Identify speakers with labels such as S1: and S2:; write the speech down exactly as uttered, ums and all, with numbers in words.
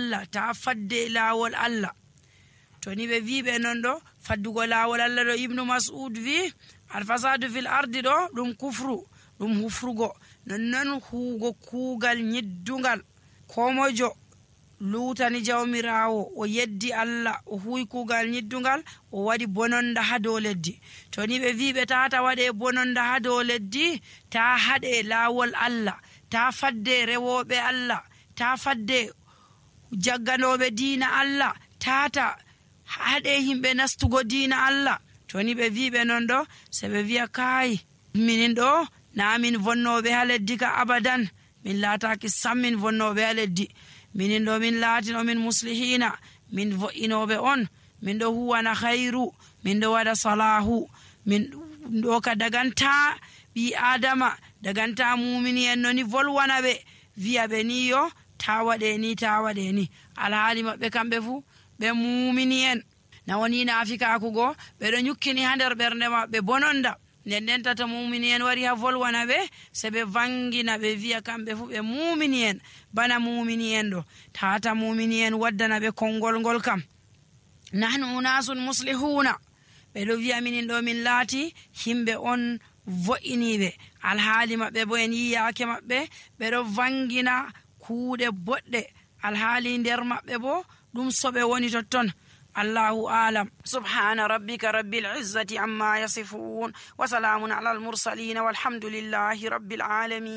S1: Allah, ta fadde laawol Allah. to ni ɓe wi ɓe non ɗo faddugo laawol Allah ɗo, Ibnu Mas'ud wi alfasadu fil ardi ɗo ɗum kufru, ɗum hufrugo. nonnon huugo kuugal nyiddungal, ko mojo luutani jawmirawo o yeddi Allah o huwi kuugal nyiddungal, o waɗi bononda ha dow leddi. to ni ɓe wi ɓe tata waɗe bononda ha dow leddi, ta haɗe laawol Allah, ta fadde rewoɓe Allah, ta fadde jagganoɓe diina Allah, tata haɗe himɓe nastugo diina Allah. to ni ɓe wi ɓe non ɗo, se ɓe wiya kai minin ɗo na min vonnoɓe ha leddi ka abadan, min laataki sam min vonnoɓe ha leddi. minin ɗo min laatino min muslihina, min vo'inoɓe on, min ɗo huwana khairu, min ɗo waɗa salahu, min ɗo ka daganta ɓi adama, daganta mumini en noni volwana ɓe, wiya ɓe ni yo ta waɗe ni ta waɗe ni. alhaali maɓɓe kamɓe fu ɓe mumini en, na woni naafikakugo, ɓeɗo nyukkini ha nder ɓernde maɓɓe bononda. nden nden tata mumini en wari ha volwana ɓe, se ɓe vangina ɓe wiya kamɓe fu ɓe mumini en bana mumini en ɗo. tata mumini en waddana ɓe konngol ngol kam, nahnu unasun muslihuna, ɓeɗo wiya minin ɗo min laati himɓe on vo'iniɓe, alhaali maɓɓe bo en yiyake maɓɓe ɓeɗo vangina kuuɗe boɗɗe, alhaali nder maɓɓe bo ɗum soɓe woni totton. Allahu alam. Subhana rabbika rabbil izzati amma yasifun wa salamun ala al mursalin walhamdulillahi rabbil alamin.